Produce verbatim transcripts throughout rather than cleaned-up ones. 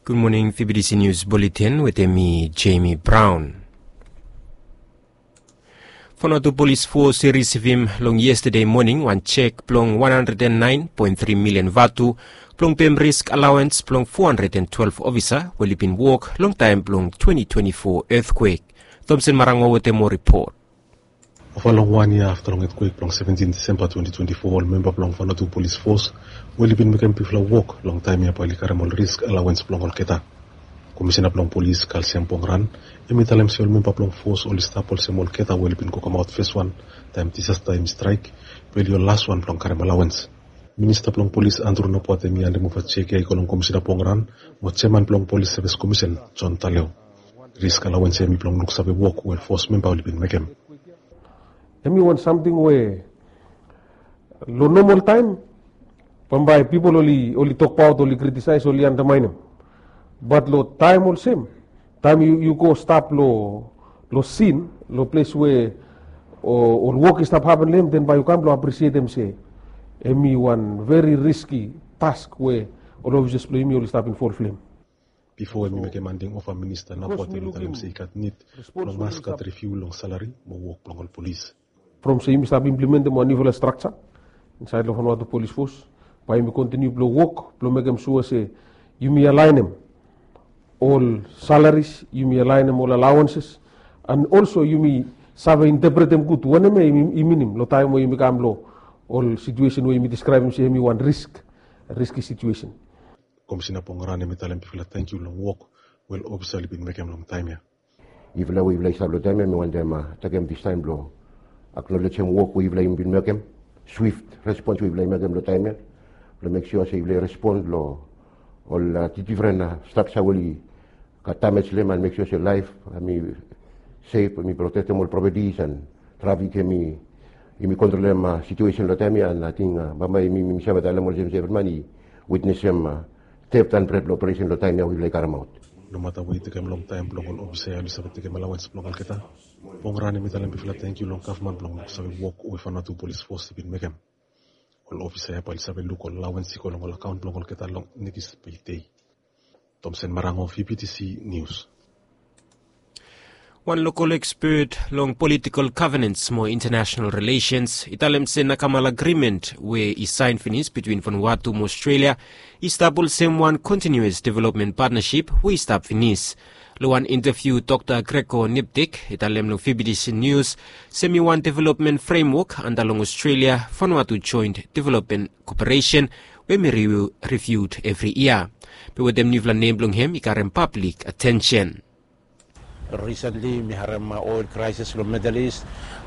Gud moning, V B T C News Bulletin wetem mi, Jamie Brown. Vanuatu Polis Fos i risivim long yestade moning wan jek blong wan handred and naen poen tri milian vatu blong pem risk alaoens blong fo handred and twelef ofisa we oli bin wok long taem blong twenti twenti fo etkwek. Thomson Marango wetem moa ripot. Ova long wan yia afta long etkwek blong seventin Disemba twenti twenti fo, ol memba blong Vanuatu Polis Fos we oli bin mekem bigfala wok long taem ya bae oli karem ol risk alaoens blong olgeta. Komisena blong polis Kalsiam Pongran hem i talem se ol memba blong fos oli stap olsem olgeta we oli bin go kamaot feswan taem disasta hem i straek, bae oli ol laswan blong karem alaoens. Minista blong polis Andrew Nabwat hem i handemova jek ya i go long Komisena Pongran mo jeaman blong Polis Sevis Komisen John Taleo. Risk alaoens ya hem i blong luksave wok we ol fos memba oli bin mekem. Hem i wan samting we long nomol taem bambae pipol oli, oli tokbaot, oli kritisaes, oli andamaenem. Bat long taem olsem, taem yu, yu go stap long, long sin, long ples we ol wok i stap hapen long hem, den bae yu kam blong apresietem se hem i wan veri riski task we ol ofisas blong yumi oli stap involv long hem. Bifo hem i mekem handing ova, Minista Nabwat hem i talem se i gat nid blong mas gat riviu long salari mo wok blong ol polis. From se yumi stap implementem wan niufala strakja insaed long Vanuatu Polis Fos, bae yumi kontiniu blong wok blong mekem sua se yumi alaenem ol salaris, yumi alaenem ol alaoenses, and also yumi save intepretem gud wanem ya i minim long taem we yumi kam long ol situesen we yumi diskraebem se hem i wan risk, riski situesen. Komisena Pongran hem i talem bigfala tangkiu long wok we ol ofisa oli bin mekem long taem ya. Yufala we yufala i stap long taem ya, mi wantem takem distaem blong aknolejem wok we yufala i bin mekem, swift respons we yufala i mekem long taem ya, blong mek sua se yufala i respon long ol difren strakja we oli gat damej long hem, and mek sua se laef hem i sef, hem i protektem ol propetis, and trafik hem i, yumi kontrolem situesen long taem ya, and ating bambae yumi save talem olsem se evri man i witnesem teft and bred long operesen long taem ya we yufala i karemaot. Nomata we i tekem longtaem blong ol ofisa ya oli save tekem alaoens blong olgeta, Pongran hem i talem bigfala tangkiu long gavman blong luksave wok we Vanuatu Polis Fos i bin mekem. Ol ofisa ya bae oli save luk ol alaoens i go long ol akaon blong olgeta long nekis pei dei. Thomson Marango, V B T C News. Wan lokol ekspet long politikol gavenens mo intanasenal rilesens i talem se Nakamal Agrimen we i saen finis bitwin Vanuatu mo Australia i stap olsem wan kontiniuas developmen patnasip we i stap finis. Long wan intaviu, Dokta Gregor Niptik i talem long V B T C News se hem i wan developmen fremwok anda long Australia Vanuatu Joint Developmen Koperesen we hem i riviu evri yia. Be wetem niufala nem blong hem i karem pablik atensen. Risentli mi harem oil kraesis long Middle East,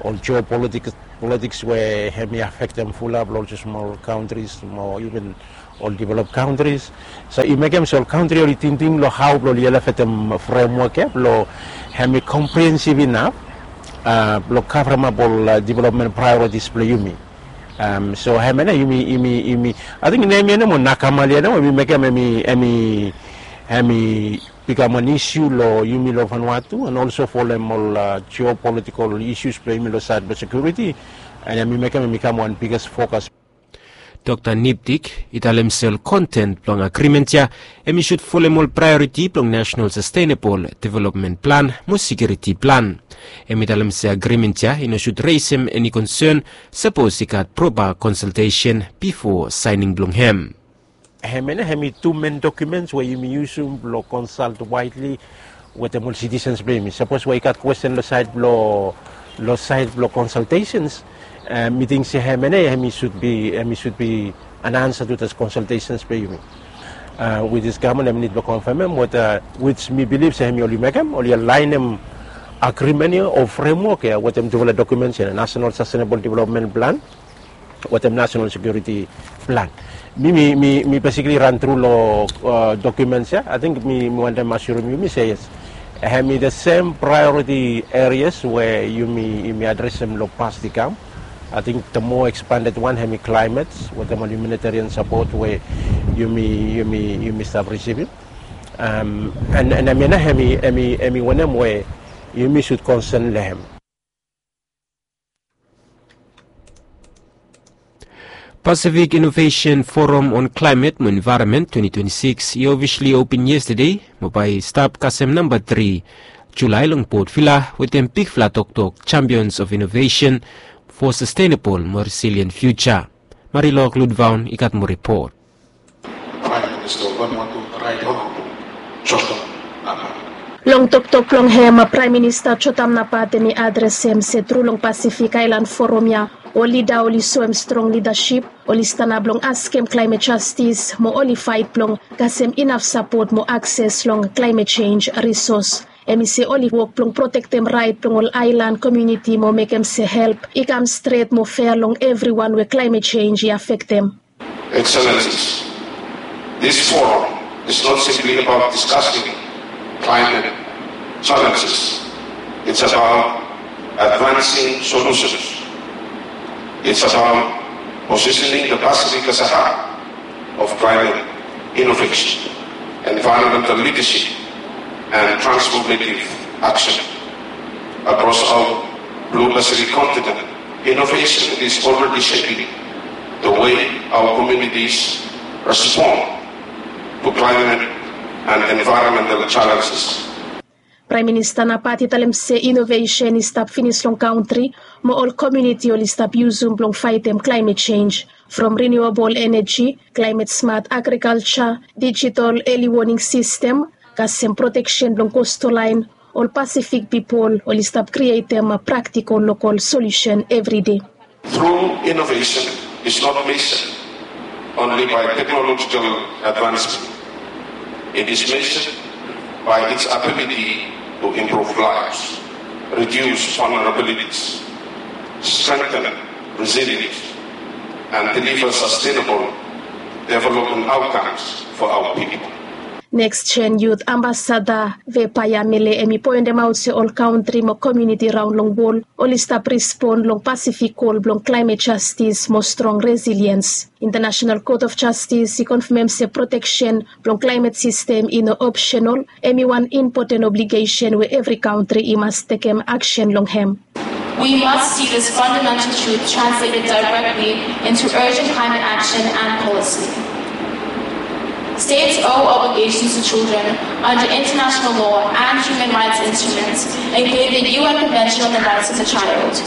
ol jeopolitiks we hem i afektem fulap long ol smol kantris mo iven ol develop kantris. So i mekem se ol kantri oli tingting long hao blong oli elevetem fremwok ya blong hem i komprehensiv inaf blong kavremap ol developmen praeoritis blong yumi. So hemia nao yumi, yumi, yumi, ating nem ya nao mo Nakamal ya nao we mi mekem hem i, hem i, hem i bikam wan isiu long yumi long Vanuatu, and olso folem ol jeopolitikol isius blong yumi long saed blong sekiuriti, and hem i mekem hem i kam wan biges fokas. Dokta Niptik i talem se ol konten blong agrimen ya hem i sud folem ol praeoriti blong Nasenal Sastenebol Developmen Plan mo Sekiuriti Plan. Hem i talem se agrimen ya i no sud resem eni konsen sapos i gat propa konsaltesen bifo saening blong hem. Hemia nao hem i tu men dokumens we yumi yusum blong konsalt waedli wetem ol sitisens blong yumi. Sapos we i gat kwesten long saed blong, long saed blong konsaltesens, mi ting se hemia nao hem i sud bi, hem i sud bi an ansa tu das konsaltesens blong yumi. Wis is gavman hem nid blong konfamem weta, wis mi bilif se hem i oli mekem, oli alaenem agrimen ya o fremwok ya wetem tufala dokumens ya, Nasenal Sastenebol Developmen Plan wetem Nasenal Sekiuriti Plan. Mi, mi, mi, mi besikli ran tru long dokumens ya. Ating mi, mi wantem asirem yumi se yes, hem i the sem praeoriti erias we yumi, yumi adresem long pas i kam. Ating the moa ekspanded wan hem i klaemet wetem ol humanitarian sapot we yumi, yumi, yumi stap risivim. And, and hemia nao hem i, hem i, hem i wanem we yumi sud konsen long hem. Pacific Innovation Forum on Climate mo Environment twenty twenty-six i ofisli open yestade mo bae i stap kasem namba tri Julae long Port Vila wetem bigfala toktok Champions of Innovation for Sustainable mo Resilient Future. Marilok Ludvaun i gat moa ripot. Long toktok blong hem, Praem Minista Jotam Napat hem i adresem se tru long Pasifik Aelan Forum ya ol lida oli soem strong lidasip, oli stanap blong askem klaemet jastis mo oli faet blong kasem inaf sapot mo akses long klaemet jenj risos. Hem i se oli wok blong protektem raet blong ol aelan komuniti mo mekem se help i kam stret mo fea long evriwan we klaemet jenj i afektem. Excellencies, this forum is not simply about discussing climate challenges. It's about advancing solutions. It's about positioning the Pacific as a hub of climate innovation, environmental leadership, and transformative action across our blue Pacific continent. Innovation is already shaping the way our communities respond to climate and environmental challenges. Praem Minista Napat i talem se inovesen i stap finis long kantri mo ol komuniti oli stap yusum blong faetem klaemet jenj, from riniuabol eneji, klaemet smat agrikalja, dijitol eli woning sistem, kasem proteksen blong kostol laen, ol Pasifik pipol oli stap krietem praktikol lokol solusen evride. True innovation is not measured only by technological advancement. It is measured by its ability to improve lives, reduce vulnerabilities, strengthen resilience, and deliver sustainable development outcomes for our people. Neks Jen Yut Ambasada Vepaya Mele hem i poendemaot se ol kantri mo komuniti raon long wol oli stap respon long Pasifik kol blong klaemet jastis mo strong resiliens. Intanasenal Kot of Jastis i konfamem se proteksen blong klaemet sistem i no opsenol, hem i wan impoten obligesen we evri kantri i mas tekem aksen long hem. We must see this fundamental truth translated directly into urgent climate action and policy. States owe obligations to children under international law and human rights instruments, including the U N Convention on the Rights of the Child.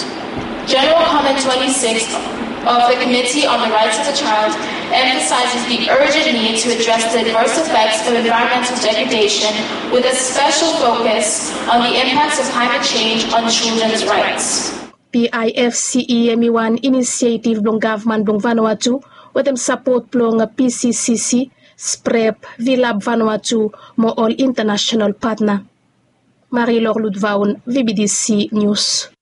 General Comment twenty-six of the Committee on the Rights of the Child emphasizes the urgent need to address the adverse effects of environmental degradation, with a special focus on the impacts of climate change on children's rights. PIFCE hem i wan inisietiv blong gavman blong Vanuatu wetem sapot blong PCCC, SPREP, Vilab Vanuatu mo ol intanasenal patna. Marilok Ludvaun, VBTC News.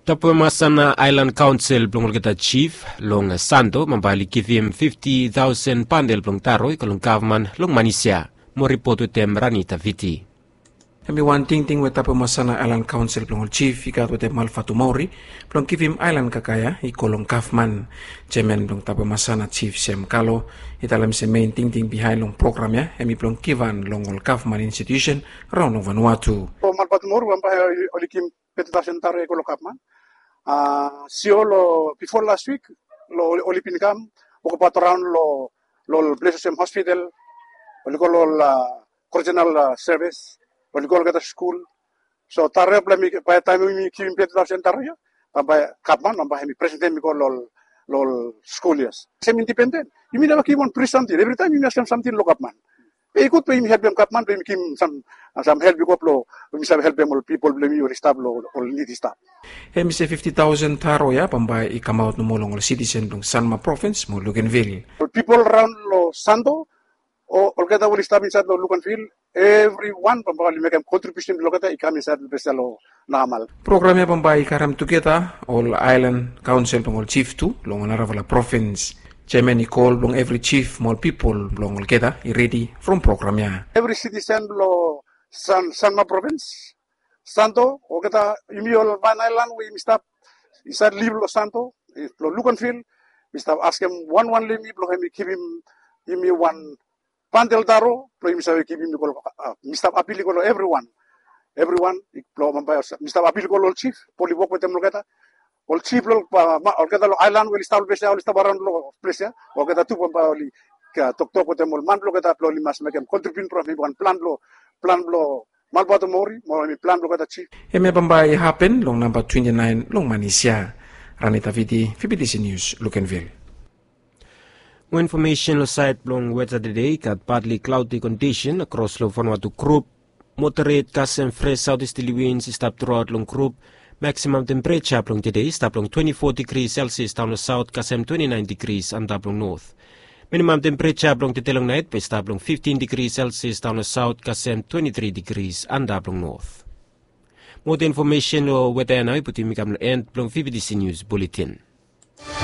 Tapemasana Aelan Kaonsel blong olgeta jif long Santo bambae oli givim fifti taosen bandel blong taro i go long gavman long Manisia. Moa ripot wetem Rani Taviti. Hem i wan tingting we Tapemasana Aelan Kaonsel blong ol jif i gat wetem Malfatu Maori blong givim aelan kakaea i go long gavman. Jeaman blong Tapemasana Jif Sem Kalo i talem se mein tingting bihaen long program ya hem i blong givhan long ol gavman institiusen raon long Vanuatu. Malfatu Maori bambae oli givim fifti taosen taro ya i go long gavman. Sio long bifo las wik long oli bin kam wokabaot raon long ol ples olsem hospital, oli go long ol korejenal sevis, oli go olgeta skul. So taro ya blong mi bae taem yumi givim fifti taosen taro ya bambae gavman bambae hem i presentem i go long ol skul ya. Sem indipenden, yumi neva givim wan pri samting. Evritaem yumi askem samting long gavman. Be i gud be yumi helpem gavman be yumi givim sam sam help i go blong yumi save helpem ol pipol blong yumi oli stap long ol nid i stap. Hem i se fifti taosen taro ya bambae i kamaot nomo long ol sitisen blong Sanma provins mo Luganvil. Ol pipol raon long Santo o olgeta we oli stap insaed long Luganvil, evriwan bambae oli mekem kontribiusen blong olgeta i kam insaed long ples ya long Nakamal. Program ya bambae i karem tugeta ol aelan kaonsel blong ol jif tu long ol narafala provins. Jeaman i kol blong evri jif mo ol pipol blong olgeta i redi from program ya. Evri sitisen blong San Sanma provins, Santo, olgeta yumi ol Van Aelan we yumi stap insaed liv long Santo, long Luganvil, mi stap askem wanwan long yumi blong hem i givim yumi wan bandel taro blong yumi save givim i go long, mi stap apil i go long evriwan. Evriwan blong bambae mi stap apil i go long ol jif blong oli wok wetem olgeta. ol jif blong olgeta long aelan we oli stap long ples ya, oli stap araon long ples ya, olgeta tu bambae oli toktok wetem ol man blong olgeta blong oli mas mekem kontribiut blong mekem wan plan blong plan blong malbato mori mo hemi plan blong olgeta jif. Hemia bambae i hapen long namba twenti naen long manis ya. Rani Davidi, Fibidisi Nius, Lukenvil. Mo infomesen long saed blong weta tede, i gat badli klaodi kondisen akros long Vanuatu grup. Moderet kasem fres saotisterli wins i stap truaot long grup. Maksimam tempereja blong tede i stap long twenti fo digri selsias daon long saot kasem twenti naen digri antap long not. Minimam tempereja blong tede long naet bae i stap long fiftin digri selsias daon long saot kasem twenti tri digri antap long not. Moa infomesen long weta ya nao i putum yumi kam long en blong Fibidisi Nius Buletin.